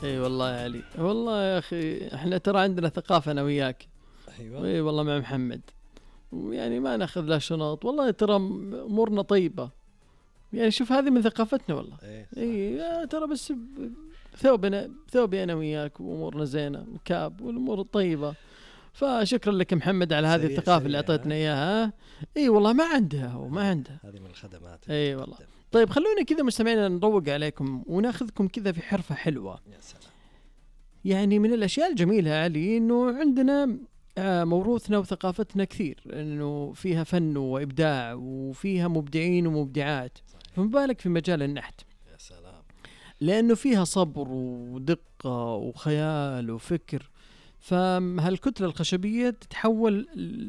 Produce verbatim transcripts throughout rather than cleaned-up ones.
اي والله يا علي، والله يا اخي احنا ترى عندنا ثقافة انا وياك. ايوه اي والله مع محمد، ويعني ما ناخذ لا شنط، والله ترى امورنا طيبة. يعني شوف هذه من ثقافتنا والله. اي اي ترى بس ثوبنا ثوبي انا وياك وامورنا زينة وكاب والامور الطيبة. فشكرا لك محمد على هذه الثقافة اللي اعطيتنا اياها. اي والله ما عندها وما عندها. هذه من الخدمات. اي والله. طيب خلونا كذا مستمعينا نروق عليكم وناخذكم كذا في حرفة حلوة. يا سلام. يعني من الاشياء الجميلة علي انه عندنا موروثنا وثقافتنا كثير، انه فيها فن وابداع وفيها مبدعين ومبدعات، فما بالك في مجال النحت. يا سلام. لانه فيها صبر ودقة وخيال وفكر. فهالكتلة الخشبية تتحول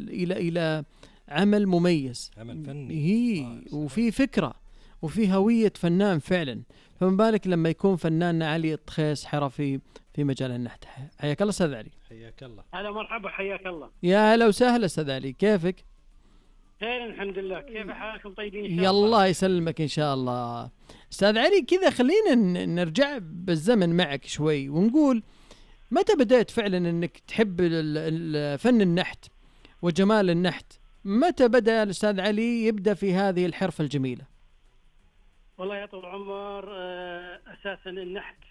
الى الى عمل مميز، عمل فني هي آه وفي فكرة وفي هوية فنان فعلا. فما بالك لما يكون فناننا علي الطخيس حرفي في مجال النحت. حياك الله استاذ علي. حياك الله. هلا مرحبا، حياك الله. يا هلا وسهلا استاذ علي، كيفك؟ خير الحمد لله، كيف حالكم؟ طيبين ان شاء الله؟ الله يسلمك ان شاء الله. استاذ علي كذا خلينا نرجع بالزمن معك شوي ونقول متى بدأت فعلا انك تحب فن النحت وجمال النحت؟ متى بدأ الأستاذ علي يبدأ في هذه الحرفة الجميلة؟ والله يا طول العمر أساسا النحت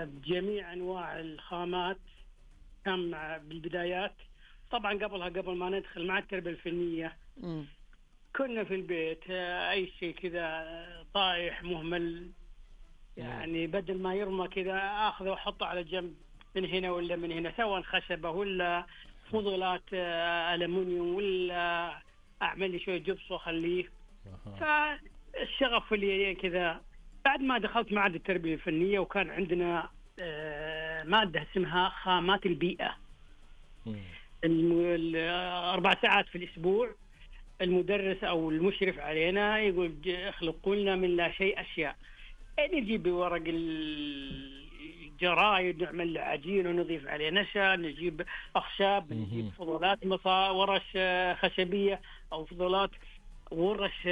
بجميع أنواع الخامات كان بالبدايات. طبعا قبلها قبل ما ندخل مع التربية الفنية م. كنا في البيت أي شيء كذا طايح مهمل، يعني بدل ما يرمى كذا أخذه وحطه على جنب من هنا ولا من هنا، سواء خشبة ولا فضلات ألمنيوم ولا أعمل لي شوية جبس وأخليه. فالشغف اللي كذا بعد ما دخلت معهد التربية الفنية وكان عندنا مادة اسمها خامات البيئة، أربع ساعات في الأسبوع. المدرس أو المشرف علينا يقول اخلقوا لنا من لا شيء أشياء، نجيب ورق الجرايد نعمل عجين ونضيف عليه نشا، نجيب أخشاب، نجيب فضلات مصا ورش خشبية أو فضلات ورش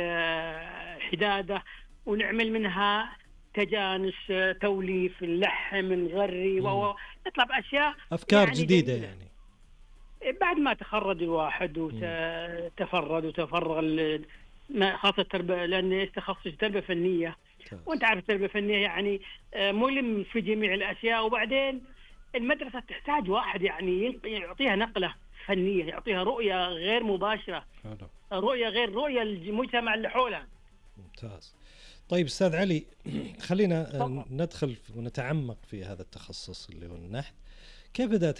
حدادة ونعمل منها تجانس، توليف، اللحم، نغري ونطلع بأشياء أفكار يعني جديدة جديدة. يعني بعد ما تخرج الواحد وتفرد وتفرغ خاصة التربية، لأن تخصص تربية فنية وانت عارف التربية الفنية يعني ملم في جميع الأشياء. وبعدين المدرسة تحتاج واحد يعني يعطيها نقلة فنية، يعطيها رؤية غير مباشرة، رؤية غير رؤية المجتمع اللي حولها. ممتاز. طيب أستاذ علي خلينا ندخل ونتعمق في هذا التخصص اللي هو النحت. كيف بدأت